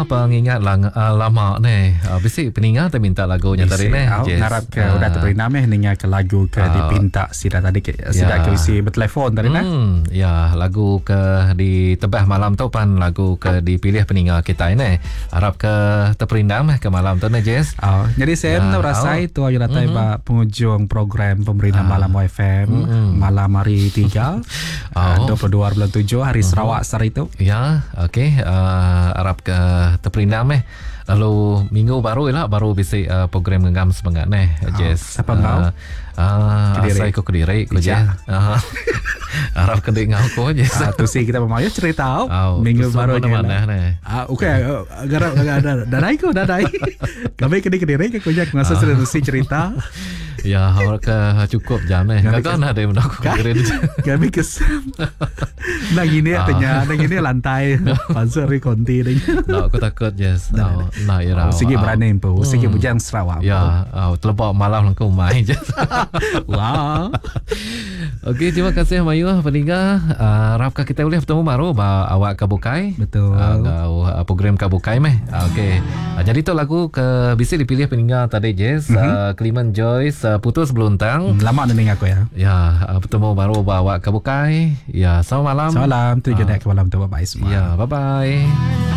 Pengingat lang, uh, lama ne. Uh, bisi peninga te minta lagu nya tadi ne. Yes. Ngarap ke uh, udah terperina meh ninga ke lagu ke uh, dipinta sida tadi ke sida yeah. ke bisi bertelefon tadi nah. Ya, lagu ke ditebah malam tu pan lagu ke dipilih peninga kita ne. Harap ke terperindang meh ke malam tu ne Jess. Oh, jadi saya ya, rasai oh. tu aja datai mm-hmm. ba penghujung program pemerintah uh. malam YFM mm-hmm. malam hari 3 oh. 22 bulan 7 hari uh-huh. Sarawak sehari tu. Ya, okey. Uh, arap ke terperindang meh. Lalu minggu baru ila baru bisi uh, program ngengam semangat neh. Oh, Jess. Siapa ngau? Uh, uh, asai ku kediri ku je. Uh, arap ke ngau ku je. Uh, tu si kita pemayu cerita oh, minggu baru ni. Mana neh. Ah okey, garap dadai ku dadai. Kami kedi kediri ke ku je ngasa uh. si cerita. Ya, awak ke cukup jam eh. Gagal nak ada benda aku kira ni. Kami kesam. Nak gini ah. tanya, nak gini lantai. Pasal ri konti ni. Nak aku takut yes. Nah, nah ya. Oh, sigi berani empu, sigi hmm. bujang Sarawak. Ya, oh, telebak malam aku main je. Wah. Okey, terima kasih Mayu peningga. Uh, harapkan kita boleh bertemu baru ba awak ke bukai. Betul. Uh, uh, program ke bukai meh. Uh, Okey. Uh, jadi tu lagu ke bisi dipilih peningga tadi Jess, mm-hmm. uh, Clement Joyce uh, Putus Beluntang. Lama dah aku ya. Ya, uh, bertemu baru ba awak ke bukai. Ya, selamat malam. Selamat malam. Tu uh, ke malam tu bye bye semua. Ya, bye bye.